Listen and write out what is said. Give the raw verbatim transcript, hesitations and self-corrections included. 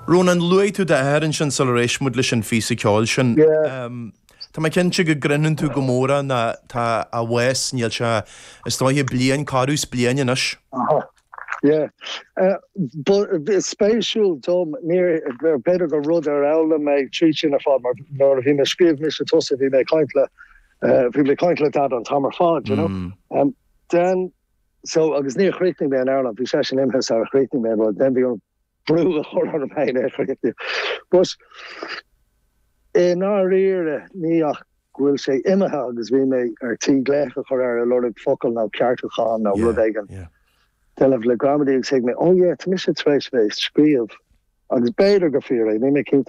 Ronan luaigh tú d'athair ansin sular éist muid leis an phíosa ceoil sin. Um, Tá mé cinnte go gcrinneann tú go mór na tá a bhás níl sé is dóiche bliain carús bliain anois. Yeah. Uh, but spéisiúil dom níor b'fhéidir gur rud ar fhoghlaim mé trí sin ar fad mar nuair a bhí mé scríobh mise tusa bhí mé caint le uh, bhí mé caint le dad an t-am ar fad you know mm. um, then so agus níor chríochnaigh mé an amhrán bhí sé sin imithe sar chríochnaigh mé rud then bhí an brú a chur ar mé é chríochnú. But i ndáiríre ní ach go bhfuil sé imithe agus bhí mé ar tí glaoch a chur ar a lorg focal nó ceartúchán nó rud éigin. Déanamh le gramadaí agus thuig mé ó yeah, tá mise tar éis bheith scríobh agus b'fhéidir go fíor é ní mé cinnte